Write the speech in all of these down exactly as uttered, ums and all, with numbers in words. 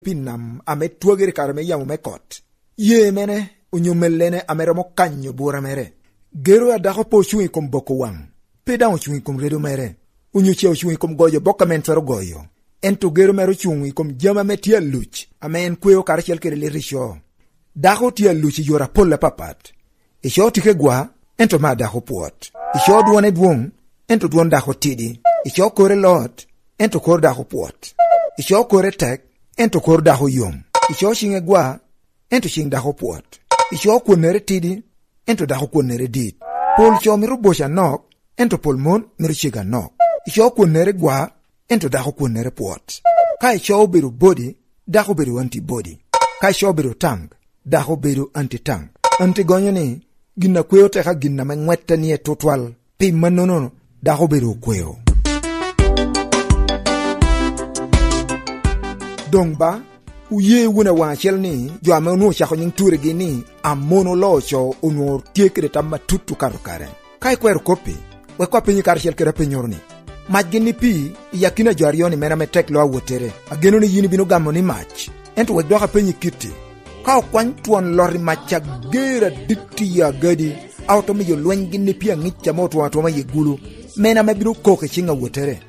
Pi nam ame twagere kare me yamo me kot. Ye mene onyo melene ame romo kanyo bura mere. Gero a dako pe ocung i kom boko wang, pe dang ocung i kom redo mere, onyo ce ocung i kom goyo bok ame en twero goyo. Ento gero mere ocung i kom jami ame tye aluc, ame en kweo karacel kede lit ico. Dako tye aluc i yore apol apapat. Ico tike gwa, ento ma dako pwot. Ico dwone dwong, ento dwon dako tidi. Ico kore lot, ento kor dako pwot. Ico kore tek, ento kor dako yom. Ico cinge gwa, ento cing dako pwot. Ico kwonere tidi, ento dako kwonere dit. Pol co mito boco anok, ento pol mon mito cego anok. Ico kwonere gwa, ento dako kwonere pwot. Ka ico obedo body, dako obedo antibody. Ka ico obedo tank, dako obedo anti-tank. Anti gonyo ni gin na kweo teka gin na me ngwette nie tutwal. Pim ma nono dako obedo okweo. Dong ba, oye wun awang acel ni jo ame onwongo ocako nying turegi ni Amon oloo co onwongo tye kede tam matut okato kare. Ka ikwero kopi, wek wapenyi karacel kede apenyoro ni, mac gin ni pii i akina jo aryo ni mene ame tek lo awotere. Ageno ni yin ibino gamo ni mac. Ento wek dok apenyi kiti. Ka okwany twon loti mac ager adit i agadi, aoto miyo lweny gin ni pii angic ame otwomo atwoma i gulu, mene ame bino kok i cing awotere.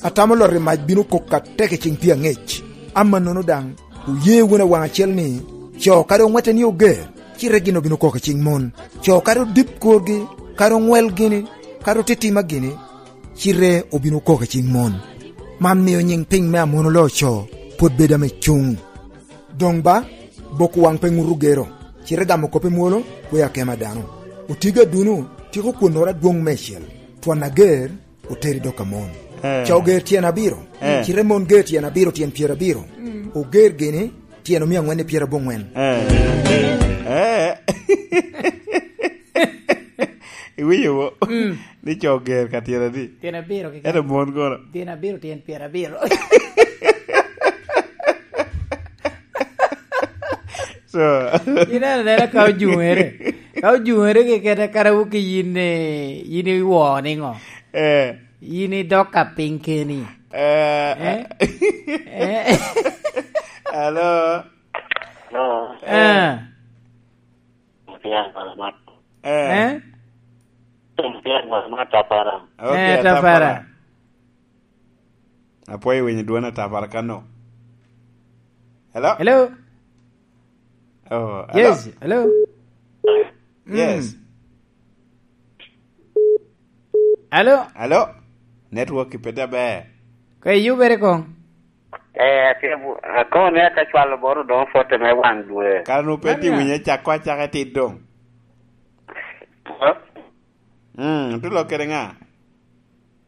Atamo loti mac bino kok atek i cing pii angec. Ama nono dang, oye wun awang acel ni, co kadi ongwette ni oger, ci regino bino kok i cing mon. Co kadi odip korgi, kadi ongwel gini, kadi otitima gini, ci re obino kok i cing mon. Man miyo nying piny me Amon oloo co pwod bedo ame cung. Dong ba, boko wang pe ngutu gero, ci re gamo kope mwolo, kweyo akema dano. Otigo adunu, tiko kwonora dwong me cel, twon ager, oteri dok ka mon. Ca oger tyen abiro, ci re mon ger tyen abiro tyen pyerabiro, oger gini tyen omiyo angwen ni pyerabongwen. Iwinyo bo ni co ger ka tyen adi? Tyen abiro keken. Ento mon kono? Tyen abiro tyen pyerabiro. So Ineno anena ka ojungere. Ka ojungere kekene kadi wa ki in eh, in iwo ningo? eh In idok ka piny keni. eh Eh? Eh? Hello. No, Eh. Eh. Eh? Tapara. Okay, Eh, Tapara. Apwoyo winyo dwon atapara kano. Hello? Hello? Oh, hello. Yes, hello? Yes. Hello? Hello? Network ipeta ber. Ka iyubere kong? Eh, akone ata cwalo boro dong fote me wang dwe. Kara nu pe ti Mania. winye cako acaka tit dong. Mm, tu lok kede nga?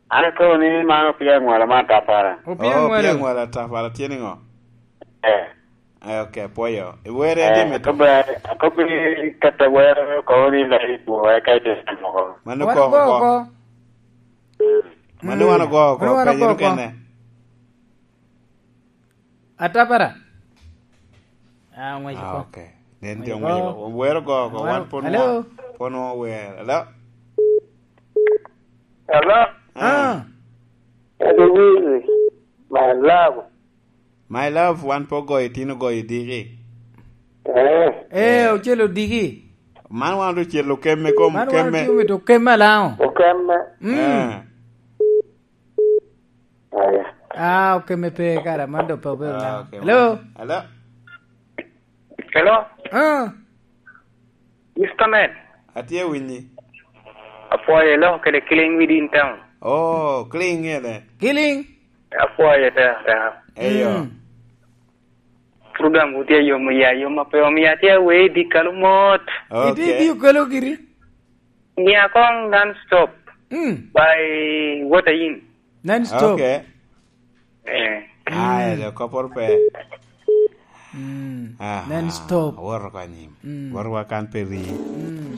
An akone ni man opiyo ngwalo ma tapara. Opiyo Oh, opiyo ngwalo. ngwalo atapara tye ni ngo? Eh. Eh, okay, pwoyo. Iwere adi Eh, mito? akobe akobe kata wero koni la ibuwe ka ite moko. Mano Wan koko go ko. ko. Mano wan ogo ko. Mano wan Penyo ogo ko. kene. Atapara. Ah, ngwec Ah, ko. okay. Nen tye Ngwec ngwec ko. ko. Wero go ko. Wan pon Hello? pon wer. Hello? Hello. Ah. Louise, my love. My love, wan po goyo tino goyo diki. Eh, Eh, ocelo digi. Man wan ocelo kemme kom Man wan kemme. otiyo mito kemme lango. okemme. Mm. Eh. Aya. Ah, okemme pe kara man do pe obedo Ah, lango. okay. Hello? Hello? Hello, Ah. Mister Man. Atie winyi. Apoye lo kede killing within town. Oh, clean ngene. Killing. Apoye te te. Eyo. Mm. Program utia yo mo ya yo ma pe o mi atia we di kalumot. Iti Okay. biyo kalo giri. Nia kong non stop Mm. by water in. Non stop. Okay. Eh. Aya, do kopor pe. Mm. Ah, Non stop. Woro kanyim. Mm. Woro wakan peri. Mm.